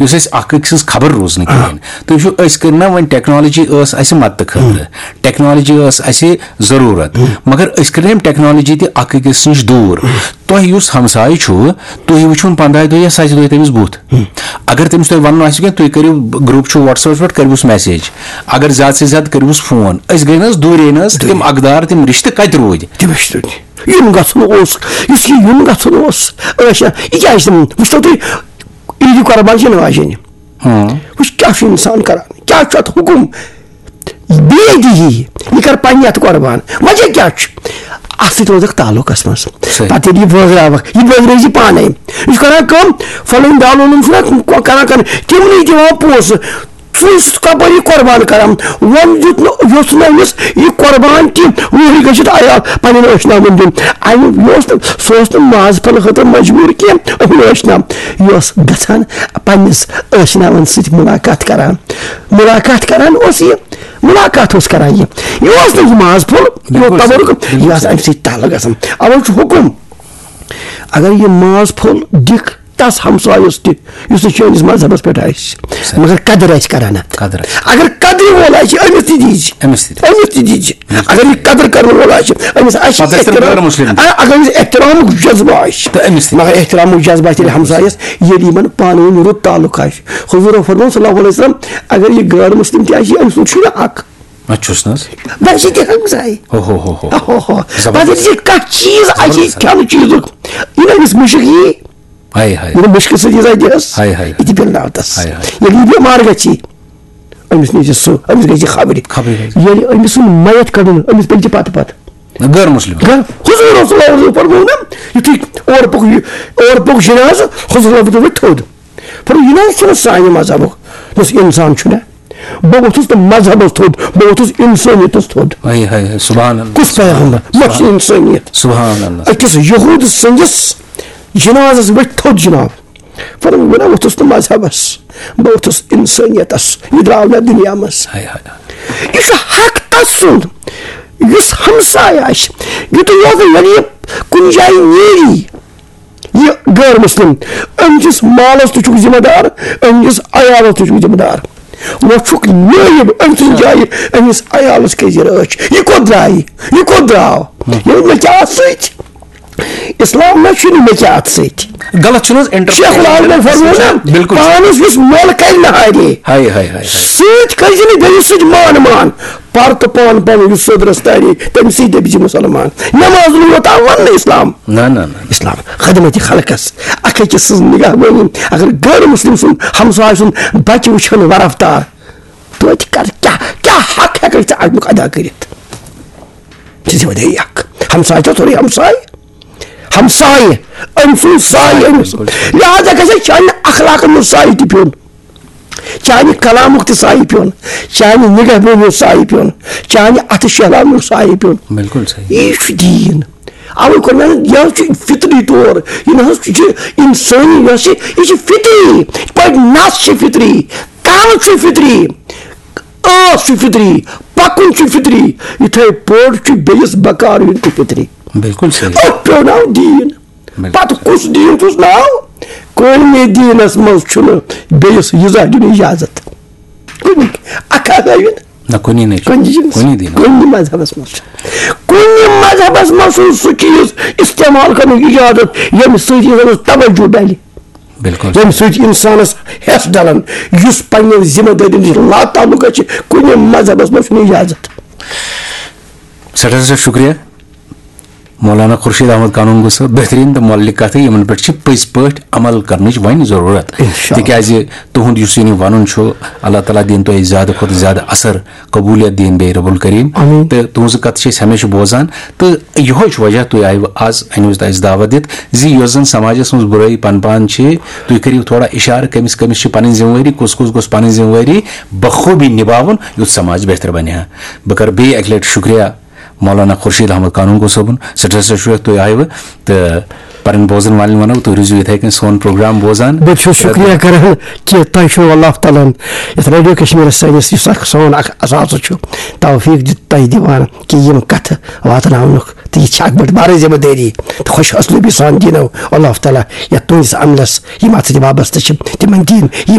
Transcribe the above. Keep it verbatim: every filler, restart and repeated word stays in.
یُس اَسہِ اَکھ أکۍ سٕنٛز خبر روٗز نہٕ کِہیٖنۍ۔ تُہۍ وٕچھِو، أسۍ کٔر نہ وۄنۍ ٹیکنالوجی ٲس اَسہِ مدتہٕ خٲطرٕ، ٹیکنالوجی ٲس اَسہِ ضروٗرت، مگر أسۍ کٔر أمۍ ٹیکنالوجی تہِ اَکھ أکِس نِش دوٗر۔ تۄہہِ یُس ہمسایہِ چھُ، تُہۍ وٕچھِو نہٕ پنٛداہہِ دۄہہِ یا سَتہِ دۄہہِ تٔمِس بُتھ۔ اگر تٔمِس تۄہہِ وَنُن آسہِ کینٛہہ، تُہۍ کٔرِو، گروپ چھُ WhatsApp پٮ۪ٹھ، کٔرِوُس میسیج۔ اگر زیادٕ سے زیادٕ کٔرِوُس فون۔ أسۍ گٔے نہ حظ دوٗرے نہ حظ، تِم اقدار، تِم رِشتہٕ کَتہِ روٗدۍ؟ تِم ٲسۍ تُہۍ یُن گژھُن اوس، یُس یہِ یُن گژھُن اوس، ٲسۍ یہِ کیٛاہ ٲسۍ تِم؟ وٕچھتو تُہۍ، عیٖدِ قۄربان چھِ نِوان جینہِ۔ ہاں۔ وٕچھ کیٛاہ چھُ اِنسان کران، کیٛاہ چھُ اَتھ حُکُم؟ بیٚیہِ دِیہِ یہِ، یہِ کر پننہِ اَتھٕ قۄربان۔ وجہ کیٛاہ چھُ؟ اَتھ سۭتۍ روزکھ تعلقس منٛز۔ صحیح۔ پتہٕ ییٚلہِ یہِ بٲگراوکھ، یہِ بٲگرٲوزِ پانے۔ یہِ چھُ کران کٲم، فلٲنۍ دالونن چھُنہ کران، کران، تِمنٕے دِوان پونٛسہٕ۔ ژٕ چھُکھ کپٲرۍ یہِ قۄربان کران؟ وۄنۍ دیُت نہٕ، یوٚژھ نہٕ أمِس یہِ قۄربان کینٛہہ، وُہٕرۍ گٔژھِتھ عیال پننٮ۪ن ٲشناون دیُن۔ اَمیُک یہِ اوس نہٕ، سُہ اوس نہٕ ماز پھلہٕ خٲطرٕ مجبوٗر کینٛہہ، أمِس ٲشنا۔ یہِ اوس گژھان پننِس ٲشناون سۭتۍ مُلاقات کران۔ مُلاقات کران اوس یہِ، مُلاقات اوس کران یہِ۔ یہِ اوس نہٕ یہِ ماز پھوٚل، یہِ اوس بِلکُل صحیح، تبرُک، بِلکُل یہِ آسہِ صحیح۔ اَمہِ سۭتۍ تعلق گژھان۔ اَوَے چھُ حُکُم، اگر یہِ ماز پھوٚل دِکھ تس ہمسایس تہِ، یُس نہٕ چٲنِس مذہبس پٮ۪ٹھ آسہِ، صحیح۔ مگر قدر آسہِ کران اتھ۔ قدر آسہِ۔ اگر قدرِ وول آسہِ، أمِس تہِ دیٖزِ۔ أمِس تہِ۔ أمِس تہِ دیٖزِ۔ بِلکُل۔ اگر یہِ قدر کرن وول آسہِ، أمِس آسہِ پتہٕ آسہِ تِم احترام۔ غٲر مسلم تہِ۔ آ، اگر أمِس احترامُک جذبہٕ آسہِ۔ تہٕ أمِس تہِ۔ مگر احترامُک جذبہٕ آسہِ تیٚلہِ ہمسایس، ییٚلہِ یِمن پانہٕ ؤنۍ رُت تعلق آسہِ۔ حضوٗرن فرموو صلی اللہ علیہ وسلم، اگر یہِ غٲر مسلم تہِ آسہِ، أمۍ سُنٛد چھُنہٕ حق۔ اَتھ چھُس نہٕ حظ۔ بس یہِ تہِ ہمسایہِ۔ ہو، ہو، ہو، ہو۔ ہو، ہو۔ زبردست۔ پتہٕ یہِ کانٛہہ چیٖز آسہِ، زبردست۔ کھٮ۪نہٕ چیٖزُک، یہِ نہٕ أمِس مُشک یی۔ ہاے، ہاے۔ یہِ نہٕ مُشکہٕ سۭتۍ ییٖژاہ دِیَس، ہاے، ہاے۔ یہِ تہِ پِلناو تَس۔ ہاے، ہاے۔ ییٚلہِ یہِ بٮ۪مار گژھِ، أمِس نِش چھِ سُہ، أمِس گژھِ خبرِ۔ خبرِ گژھِ۔ ییٚلہِ أمِس سُنٛد میت کَڑُن، أمِس پِلہِ تہِ پَتہٕ پَتہٕ۔ غٲر مسلم۔ غٲر، حضور رسول اللہ علیہ وسلم فرموو نا، یُتھُے اورٕ پوٚک یہِ، اورٕ پوٚک جنازٕ، حضور رسول فرموو تھوٚد۔ فرموو، یہِ نہ حظ چھُنہٕ سانہِ مذہبُک، یُس اِنسان چھُنہ۔ بہٕ ووٚتھُس نہٕ مذہبس تھوٚد، بہٕ ووٚتھُس اِنسٲنیتس تھوٚد۔ ہاے، ہاے، ہاے، سبحان اللہ۔ کُس پیغمبر؟ مےٚ چھِ سبحان۔ اِنسٲنیت۔ سبحان اللہ۔ أکِس یہوٗد سٕنٛدِس جنازس ؤتھۍ تھوٚد جناب۔ فرموو، بہٕ نہ ووٚتھُس نہٕ مذہبس، بہٕ ووٚتھُس اِنسٲنیتس۔ یہِ درٛاو مےٚ دُنیا منٛز۔ ہاے، ہاے، ہاے۔ یہِ چھُ حق تس سُنٛد، یُس ہمسایہِ آسہِ۔ یُتُے یوت نہٕ، ییٚلہِ یہِ کُنہِ جایہِ نیری، یہِ غٲر مسلم، أمۍ سٕنٛدِس مالس تہِ چھُکھ ذمہٕ دار، أمۍ سٕنٛدِس عیالس تہِ چھُکھ ذمہٕ دار۔ وۄنۍ چھُکھ نٲیِب أمۍ سٕنٛزِ جایہِ، أمِس عیالس کیٛازِ رٲچھ؟ یہِ کوٚت درٛایہِ؟ یہِ کوٚت درٛاو؟ ییٚلہِ مےٚ کیٛاہ سۭتۍ؟ اسلام نہ چھُنہٕ مےٚ کیٛاہ اَتھ سۭتۍ۔ غلط چھُنہٕ حظ انٹرپریٹ شیخ العالمن فرموو نا، بِلکُل۔ پانس یُس مۄل کرِ نہ ہارے، ہاے، ہاے، ہاے، ہاے۔ سۭتۍ کٔرۍ زِ نہٕ بیٚیِس سۭتۍ مان مان۔ پر تہٕ پان پنُن یُس سیوٚد رستہٕ اَنہِ، تٔمۍ سٕے دٔپۍ زِ مُسلمان۔ نماز نہٕ یوت آو وننہٕ اسلام۔ نہ، نہ، نہ۔ اسلام خدمت خلقس، اکھ أکِس سٕنٛز نگہبٲنی۔ اگر غٲر مسلم سُنٛد ہمساے سُنٛد بچہِ وٕچھن ورفتار، توتہِ کر، کیٛاہ، کیٛاہ حق ہٮ۪ککھ ژٕ اَمیُک ادا کٔرِتھ؟ ژٕ چھِ وۄنۍ اکھ ہمساے، چھا سورُے ہمساے؟ ہمساے، أمۍ سُنٛد ساے أمِس۔ لہذا گژھِ چانہِ اخلاقن منٛز ساے تہِ پیوٚن۔ چانہِ کلامُک تہِ سایہِ پیوٚن، چانہِ نگہبٲنی ہُنٛد سایہِ پیوٚن، چانہِ اَتھٕ شہلاونُک سایہِ پیوٚن۔ بِلکُل صحیح۔ یی چھُ دیٖن۔ اَوَے کوٚر مےٚ، یہِ حظ چھُ فطری طور، یہِ نہ حظ چھُ اِنسٲنی، یہِ حظ چھِ، یہِ چھِ فطری۔ یِتھ پٲٹھۍ نَس چھِ فطری، کَن چھُ فطری، ٲس چھِ فطری، پَکُن چھُ فطری، یِتھَے پٲٹھۍ چھُ بیٚیِس بکار یُن تہِ فطری۔ بِلکُل صحیح۔ أتھۍ پیوناو دیٖن۔ بِلکُل۔ پتہٕ کُس دیٖن چھُس ناو؟ کُنہِ دیٖنس منٛز چھُنہٕ بیٚیِس یہِ زانٛہہ دیُن اِجازت۔ کُنہِ، اکھ ہسا یُن۔ نہ، کُنی نہٕ چھُ۔ کُنہِ چیٖزس، کُنی دیٖنس۔ کُنہِ مذہبس منٛز چھُنہٕ۔ کُنہِ مذہبس منٛز چھُنہٕ سُہ چیٖز استعمال کرنُک اِجازت، ییٚمہِ سۭتۍ اِنسانس توجہ ڈلہِ۔ بِلکُل۔ ییٚمہِ سۭتۍ اِنسانس ہٮ۪س ڈلن، یُس پننٮ۪ن ذمہٕ دٲرین نِش لاتعلق چھِ، کُنہِ مذہبس منٛز چھُنہٕ اِجازت۔ سٮ۪ٹھاہ سٮ۪ٹھاہ شُکریہ۔ مولانا خورشید احمد قانون گوٚو صٲب، بہتریٖن تہٕ مۄلہِ کتھٕ، یِمن پٮ۪ٹھ چھِ پٔزۍ پٲٹھۍ عمل کرنٕچ وۄنۍ ضروٗرت۔ انشاءاللہ۔ تِکیازِ تُہُنٛد یُس یہِ وۄنۍ وَنُن چھُ، اللہ تعالیٰ دِیِن تۄہہِ زیادٕ کھۄتہٕ زیادٕ اثر، قبوٗلیت دِیِن بیٚیہِ رب الکریم۔ آمین۔ تہٕ تُہٕنٛزٕ کتھٕ چھِ أسۍ ہمیشہِ بوزان، تہٕ یِہوے چھُ وجہ تُہۍ آیوٕ آز، أنِو تۄہہِ اَسہِ دعوت دِتھ زِ یۄس زن سماجس منٛز بُرٲیی پنپان چھِ، تُہۍ کٔرِو تھوڑا اِشارٕ کٔمِس کٔمِس چھِ پنٕنۍ ذمہٕ وٲری، کُس کُس گوٚژھ پنٕنۍ ذمہٕ وٲری بخوٗبی نِباوُن، یُتھ سماج بہتر بنہِ ہا۔ بہٕ کرٕ بیٚیہِ اکہِ لٹہِ شُکریہ مولانا خورشید احمد قانون گوٚو صٲبُن، سٮ۪ٹھاہ سٮ۪ٹھاہ شُکریہ تُہۍ آیوٕ تہٕ پنٕنۍ بوزن والٮ۪ن ونو، تُہۍ روٗزِو یِتھے کٔنۍ سون پروگرام بوزان۔ بہٕ چھُس شُکریہ کران کہِ تۄہہِ چھُو اللہ تعالیٰ ہن یتھ ریڈیو کشمیرس سٲنِس، یُس اکھ سون اکھ اثاثہٕ چھُ، توفیق دیُت تۄہہِ دِوان کہِ یِم کتھٕ واتناونُک، تہٕ یہِ چھِ اکھ بٔڑ بارٕ ذمہٕ دٲری، تہٕ خۄش حوصلہٕ سان دِنو اللہ تعالیٰ یتھ تُہنٛدِس عملس، یِم اتھ سۭتۍ وابستہٕ چھِ، تِمن دِیِن یِم